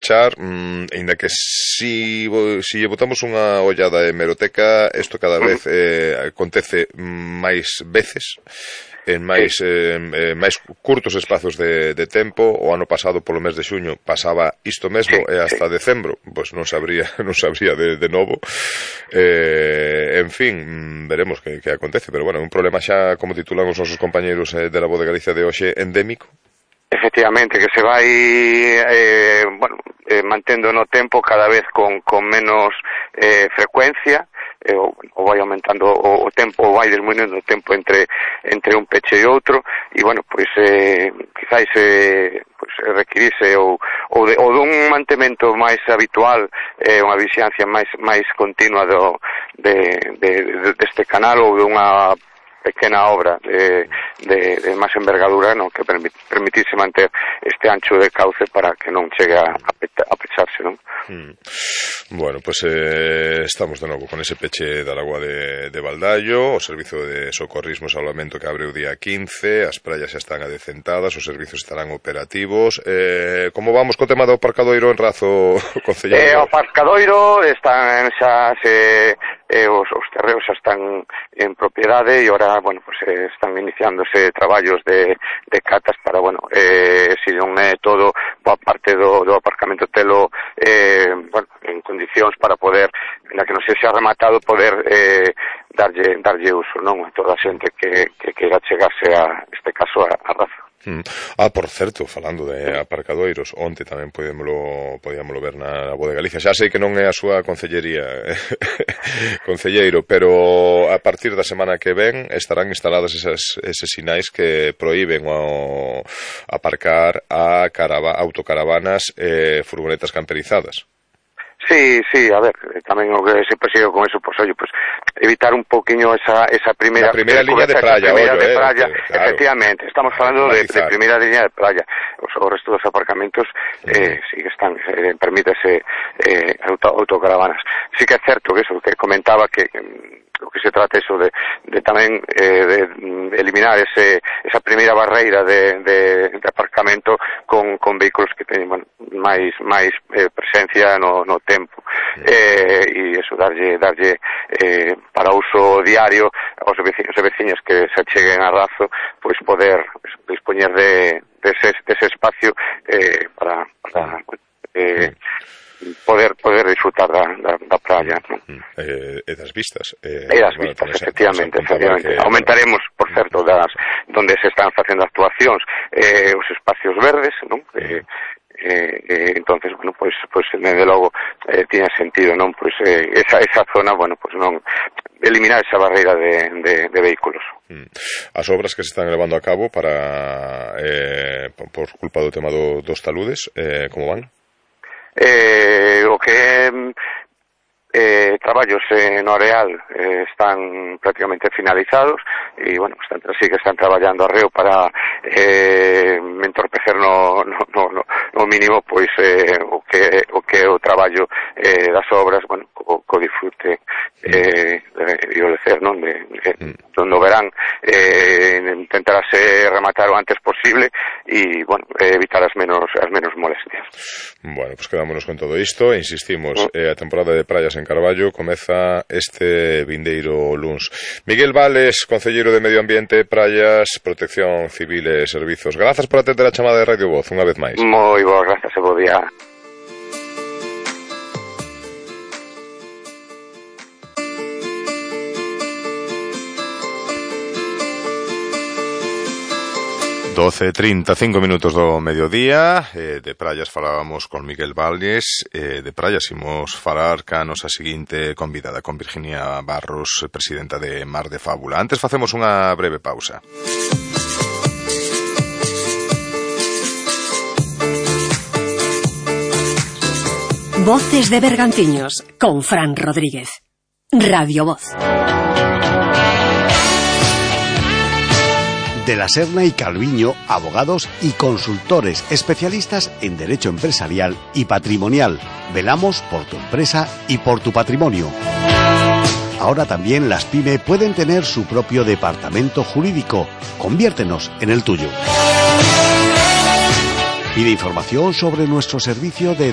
pechar, ainda que si lle botamos unha ollada de hemeroteca, isto cada vez acontece máis veces, en máis curtos espazos de tempo. O ano pasado, polo mes de xuño, pasaba isto mesmo, e hasta decembro pois non sabría de novo. En fin, veremos que acontece, pero bueno, un problema xa, como titulan os nosos compañeiros de La Voz de Galicia de hoxe, endémico. Efectivamente, que se vai mantendo no tempo cada vez con menos frecuencia, ou vai aumentando o tempo, ou vai disminuindo o tempo entre un peche e outro, e bueno, pois quizáis requirirse ou dun mantemento máis habitual, unha vixiancia máis continua deste canal, ou dunha pequena obra de máis envergadura, no, que permitise manter este ancho de cauce para que non chegue a pecharse, non? Bueno, pues estamos de novo con ese peche da Lagoa de Baldallo, o servizo de socorrismo e salvamento que abre o día 15, as praias xa están adecentadas, os servizos estarán operativos. Como vamos co tema do aparcadoiro en Razo, concelleiro? O aparcadoiro están xa os terreos xa están en propiedade, e ahora, bueno, pues están iniciándose traballos de catas para, bueno, se non é todo, boa parte do aparcamento telo en condicións para poder, na que non se xa rematado, poder darlle uso, non, a toda a xente que queira chegarse a este caso a Razo. Por certo, falando de aparcadoiros, onte tamén podíamolo ver na Voz de Galicia. Xa sei que non é a súa concellería, concelleiro, pero a partir da semana que ven estarán instaladas eses sinais que proíben o aparcar a autocaravanas e furgonetas camperizadas. Sí, a ver, tamén o que se persigue con eso, pues oye, pues evitar un poquinho esa primeira liña de praia, claro. Efectivamente, estamos falando de primeira liña de praia. O resto dos aparcamentos sí que están, permítese autocaravanas. Sí que é certo que eso que comentaba, que o que se trata eso de tamén de eliminar esa primeira barreira de aparcamento con vehículos que teñen, bueno, máis presencia no tempo, e eso, darlle para uso diario aos veciños e veciñas que se cheguen a Razo, pois poder dispoñer dese espacio para poder disfrutar da praia, ¿no? E das vistas. Efectivamente. Aumentaremos, por certo, donde se están facendo actuacións, os espacios verdes, non? Entonces, bueno, pues desde logo tiene sentido, non? Pues esa zona, bueno, pues non eliminar esa barreira de vehículos. As obras que se están levando a cabo para por culpa do tema dos taludes, como van? O que traballos no areal están prácticamente finalizados, e bueno, sí que están traballando arreo para entorpecer no mínimo pois o que o traballo das obras, bueno, co disfrute o lecer, non, no verán, intentarase rematar o antes posible e, bueno, evitar as menos molestias. Bueno, pues quedámonos con todo isto e insistimos, a temporada de praias en Carballo comeza este vindeiro luns. Miguel Vales, concelleiro de Medio Ambiente, Praias, Protección Civil e Servizos, grazas por atender a chamada de Radio Voz unha vez máis. Moi boa, grazas e bo día. $12:35 do mediodía. De praias falábamos con Miguel Vales, de praias imos falar ca nosa seguinte convidada, con Virginia Barros, presidenta de Mar de Fábula. Antes facemos unha breve pausa. Voces de Bergantiños, con Fran Rodríguez. Radio Voz. De la Serna y Calviño, abogados y consultores especialistas en derecho empresarial y patrimonial. Velamos por tu empresa y por tu patrimonio. Ahora también las PYME pueden tener su propio departamento jurídico. Conviértenos en el tuyo. Pide información sobre nuestro servicio de